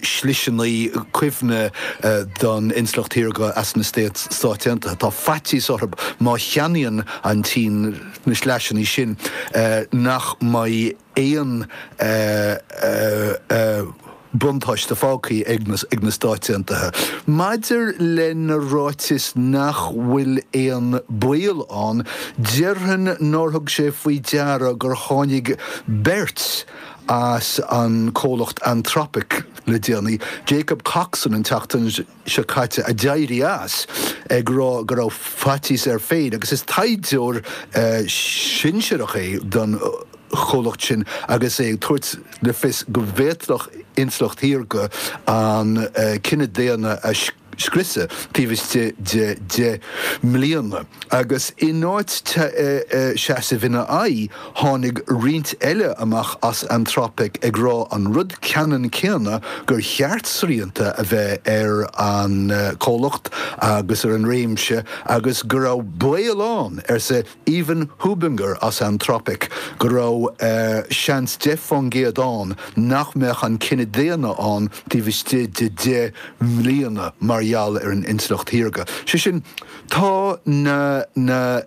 sliseanna cuimhne don intleacht shaorga as na Stáit Aontaithe. Tá faitíos orthu má cheannaíonn an tSín na sleaiseanna sin nach mbeidh aon buntáiste fágtha ag na Stáit Aontaithe. Maidir lena ráiteas nach bhfuil aon baol ann, déarfainn nár thug sé faoi deara gur tháinig beirt as an comhlacht Anthropic le déanaí, Jacob Coxon an tseachtain seo caite a d'éirigh as ag rá go raibh faitíos air féin agus is taighdeoir sinsearach é don chomhlacht sin agus é ag tabhairt le fios go bhféadfadh intleacht shaorga an cine daonna a scriosadh taobh istigh de 10 mbliana. Agus in áit seasamh ina aghaidh, tháinig roinnt eile amach as Anthropic ag rá an rud ceannann céanna, gur cheart srianta a bheith ar an comhlacht agus ar an réimse agus go raibh baol ann, arsa Ivan Hubinger as Anthropic, go raibh seans 10% ann nach mbeadh an cine daonna ann taobh istigh de 10 mbliana mar gheall ar an intleacht shaorga. Sé sin, Tá na na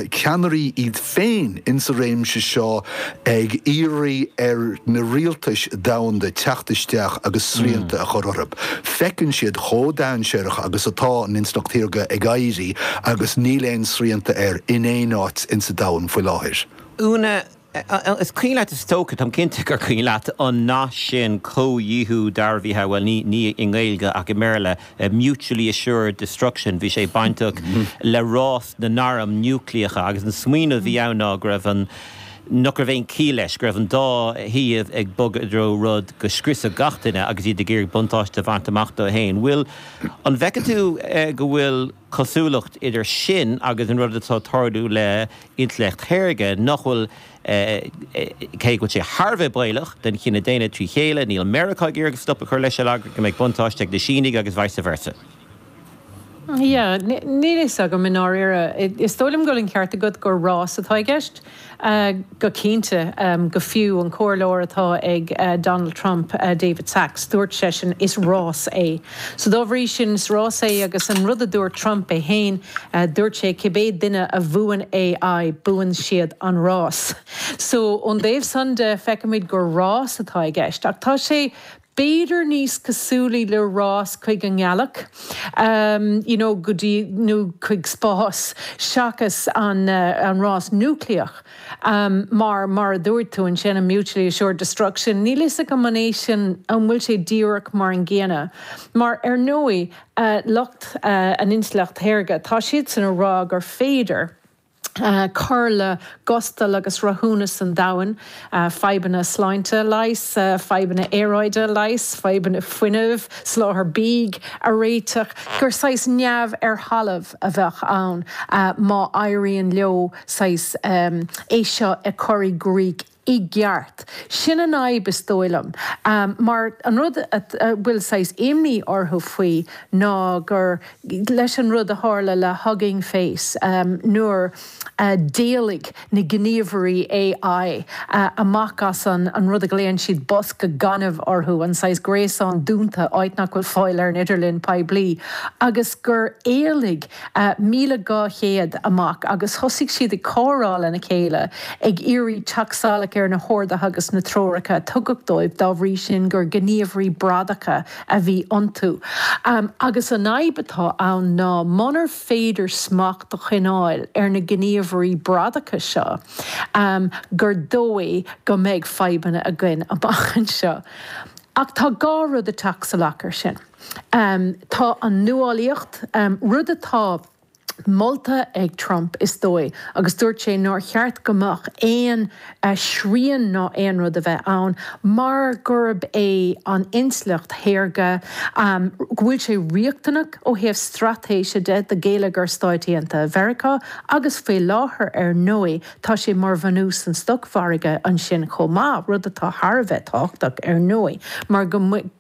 ceannairí iad féin insa réimse seo ag iarraidh ar na rialtais domhanda teacht isteach agus srianta a chur orthu. Feiceann siad chomh dainséarach agus atá an intleacht shaorga ag éirí agus níl aon srianta air in aon áit insa domhan faoi láthair. Úna, Is cuimhin leat, is dócha, táim cinnte gur cuimhin leat an nath sin, comhdhíothú dearbhaithe, bhuel, ní, ní i nGaeilge ach i mBéarla, mutually assured destruction, bhí sé bainteach le rás na n-arm núicléacha agus an smaoineamh a bhí ann ná go raibh an, nach raibh aon chiall leis, go raibh an dá thaobh ag bogadh i dtreo rud go scriosfadh gach duine agus iad ag iarraidh buntáiste a bhaint amach dóibh féin. Bhfuil, an bhfeiceann tú go bhfuil cosúlacht idir sin agus an rud atá ag tarlú le intleacht shaorga, nach bhfuil, cé go bhfuil sé thar a bheith baolach don chine daonna trí chéile, níl Meiriceá ag iarraidh stop a chur leis, ar eagla go mbeidh buntáiste ag na Sínigh agus vice versa. Yeah, níl a fhios agam i ndáiríre. Is dóigh liom go bhfuil an ceart agat gur rás atá i gceist. Go cinnte, go fiú an comhairleoir atá ag Donald Trump, David Sacks, dúirt seisean, is rás é. So dá bhrí sin, is rás é agus an rud a dúirt Trump é féin, dúirt sé cibé duine a bhuann AI, buann siad an rás. So ón dtaobh san de, feicimid gur rás atá i gceist. Ach tá sé b'fhéidir níos cosúlaí le rás chuig an ngealach, you know, go dtí, nó chuig spás, seachas an rás núicléach. Mar, mar a dúirt tú ansin, an mutually assured destruction, níl fhios agam an é sin, an bhfuil sé díreach mar an gcéanna. Mar, ar ndóigh, lucht an intleacht shaorga, tá siadsan a rá gur féidir, cur le gustal agus rathúnas an domhain, fadhbanna sláinte a leigheas, fadhbanna aeráide a leigheas, fadhbanna fuinnimh, soláthar bídh a réiteach, gur saghas neamh ar thalamh a bheadh ann má éiríonn leo saghas é seo a chur i gcrích i gceart. Sin an fhadhb is dóigh liom. Mar an rud a bhfuil saghas imní orthu faoi ná gur leis an rud a tharla le Hugging Face nuair a d'éalaigh na gníomhairí AI amach as an rud a ghlaonn siad bosca gainimh orthu, an saghas gréasán dúnta, áit nach bhfuil fáil ar an idirlíon poiblí, agus gur éalaigh 1,200 amach agus thosaigh siad ag comhrá lena chéile, ag iarraidh teacht salach ar na horduithe agus na treoracha a tugadh dóibh, dá bhrí sin gur gníomhairí bradacha a bhí iontu. Agus an fhadhb atá ann ná munar féidir smacht a choinneáil ar na gníomhairí bradacha seo, gur dóigh go mbeidh fadhbanna againn amach anseo. Ach tá dhá rud ag teacht salach air sin. Tá an nuálaíocht, rud atá molta ag Trump is dóigh, agus dúirt sé nár cheart go mbeadh aon srian ná aon rud a bheith ann mar gurb é an intleacht shaorga, go bhfuil sé riachtanach ó thaobh straitéise de do gheilleagar Stáit Aontaithe Mheiriceá agus faoi láthair ar ndóigh Tá sé mar bhunús an stocmhargaidh ansin chomh maith, rud atá thar a bheith tábhachtach ar ndóigh, mar go,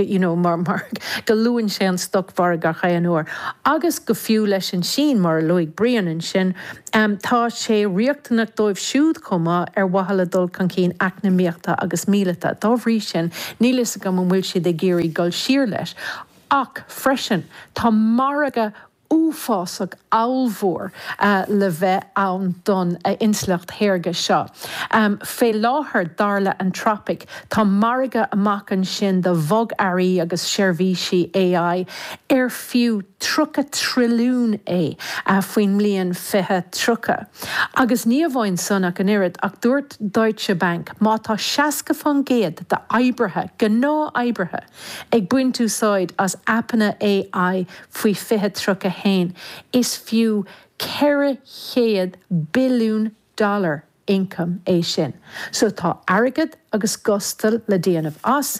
you know, mar, mar go luann sé an stocmhargadh chaon uair. Agus go fiú leis an Sín, mar a. luaigh Brian ansin, tá sé riachtanach dóibh siúd chomh maith ar mhaithe le dul chun cinn eacnamaíochta agus míleata. Dá bhrí sin, níl fhios agam an bhfuil siad ag iarraidh dul siar leis. Ach freisin, tá margadh uafásach ollmhór le bheith ann don intleacht shaorga seo. Fé láthair, dar le Anthropic, tá margadh amach ansin do bhogearraí agus seirbhísí AI ar fiú 30 trilliún é faoin mbliain 2030. Agus ní amháin san ach an oiread, ach dúirt Deutsche Bank má tá 60% d'oibrithe, gnáth-oibrithe, ag baint úsáid as aipeanna AI faoi 2031, is fiú 400 billiún dollar ioncaim é sin. So tá airgead agus gustal le déanamh as.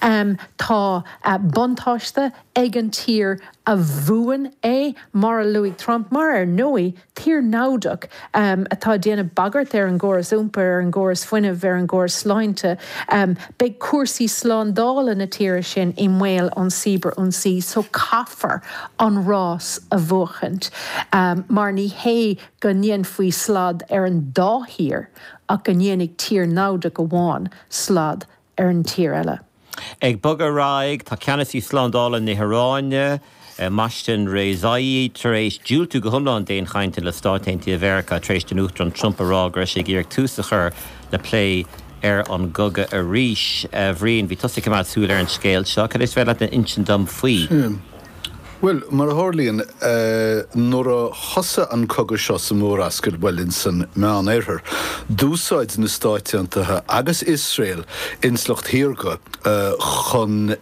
Tá buntáiste ag an tír a bhuann é, mar a luaigh Trump, mar ar ndóigh, tír namhdach atá ag déanamh bagairt ar an gcóras iompair, ar an gcóras fuinnimh, ar an gcóras sláinte. Beidh cúrsaí slándála na tíre sin i mbaol ón cibear-ionsaí so caithfear an rás a bhuachaint mar ní hé go ndéanfaí slad ar an dá thír ach go ndéanfaidh tír namhdach amháin slad ar an tír eile. Ag bogadh ar aghaidh, tá ceannasaí slándála na hIaráine, Mohsen Rezaei, tar éis diúltú go hiomlán d'aon chainteanna le Stáit Aontaithe Mheiriceá tar éis don Uachtarán Trump a rá go raibh sé ag iarraidh tús a chur le plé ar an gcogadh arís. A Bhriain, bhí tusa ag coimeád súil ar an scéal seo. Cad é is féidir leat a insint dom faoi? Bhuel, mar a tharlaíonn, nuair a thosaigh an cogadh seo sa Mhórascaill, bhuel, ins an Meán-Oirthear, d'úsáid na Stáit Aontaithe agus Iosrael intleacht shaorga chun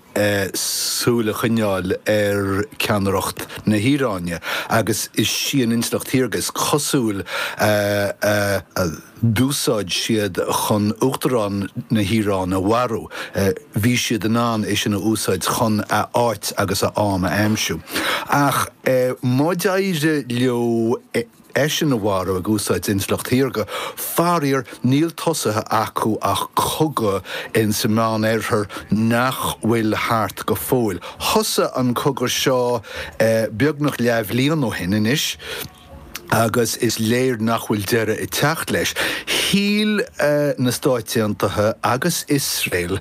súil a choinneáil ar ceannaireacht na hIaráine, agus is í an intleacht shaorga, is cosúil, a d'úsáid siad chun Uachtarán na hIaráine a mharú. Bhí siad in ann é sin a úsáid chun a áit agus a am a aimsiú. Ach má d'éirigh leo eisean a mharú ag úsáid intleacht shaorga, faraor níl tosaithe acu ach cogadh in sa Meán-Oirthear nach bhfuil thart go fóill. Thosaigh an cogadh seo beagnach leathbhliain ó shin anois. agus is léir nach bhfuil deireadh ag teacht leis. Shíl na Stáit Aontaithe agus Iosrael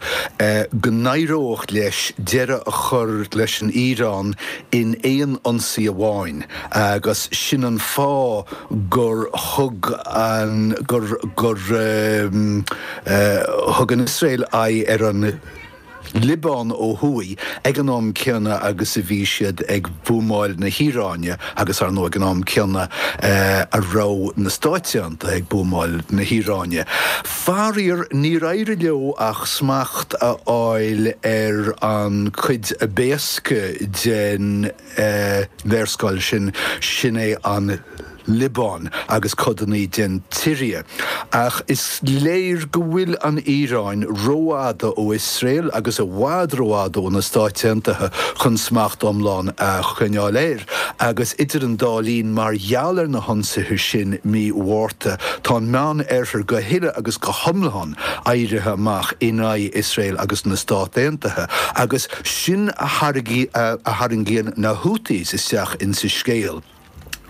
go n-éireodh leis deireadh a chur leis an Iaráin in aon ionsaí amháin agus sin an fáth gur thug an gur gur thug an Iosrael aghaidh ar an Liobáin ó thuaidh ag an am céanna agus a bhí siad ag buamáil na hIaráine agus ar ndóigh ag an am céanna a raibh na Stáit Aontaithe ag buamáil na hIaráine. Faraor, níor éirigh leo ach smacht a fháil ar an cuid ab éasca den léarscáil sin, sin é an Liobáin agus codanna den tSiria. Ach is léir go bhfuil an Iaráin rófhada ó Iosrael agus i bhfad rófhada ó na Stáit Aontaithe chun smacht iomlán a choinneáil air. Agus idir an dá linn, mar gheall ar na hionsaithe sin mí Mhárta, tá an Meán-Oirthear go huile agus go hiomlán éirithe amach in aghaidh Iosrael agus na Stát Aontaithe. Agus sin a tharraingíonn na Houthis isteach insa scéal.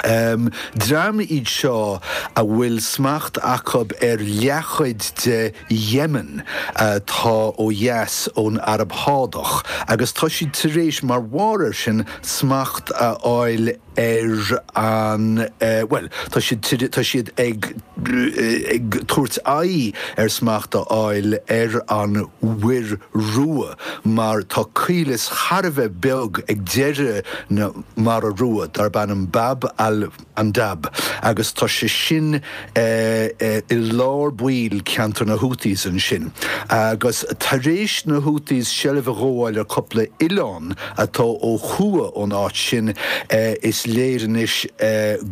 Dream iad seo a bhfuil smacht acu ar leathchuid de Yemen atá ó dheas ón Araib Shádach agus tá siad tar éis, mar bharr air sin, smacht a fháil ar an, bhuel, tá siad, tá siad ag ag tabhairt aghaidh ar smacht a fháil ar an Mhuir Rua mar tá caolas thar a bheith beag ag deireadh na Mara Rua darb ainm Bab al Mandab agus tá sé sin i lár baill ceantar na Houthis ansin. Agus tar éis na Houthis seilbh a ghabháil ar cúpla oileán atá ó thuaidh ón áit sin is léir anois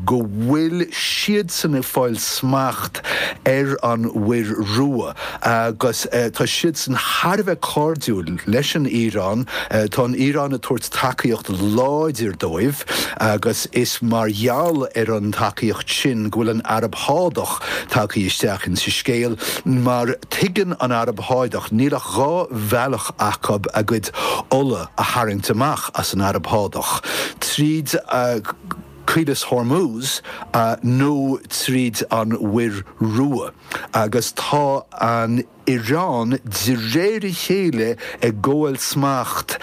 go bhfuil siadsan ag fáil smacht ar an Mhuir Rua agus tá siadsan thar a bheith cairdiúil leis an Iaráin. Tá an Iaráin ag tabhairt tacaíocht láidir dóibh agus is mar gheall ar an tacaíocht sin go bhfuil an Araib Shádach tagtha isteach insa scéal mar tuigeann an Araib Shádach níl ach dhá bhealach acu a gcuid ola a tharraingt amach as an Araib Shádach, tríd. Caolas Hormuz nó tríd an Mhuir Rua agus tá an Iaráin de réir a chéile ag gabháil smacht.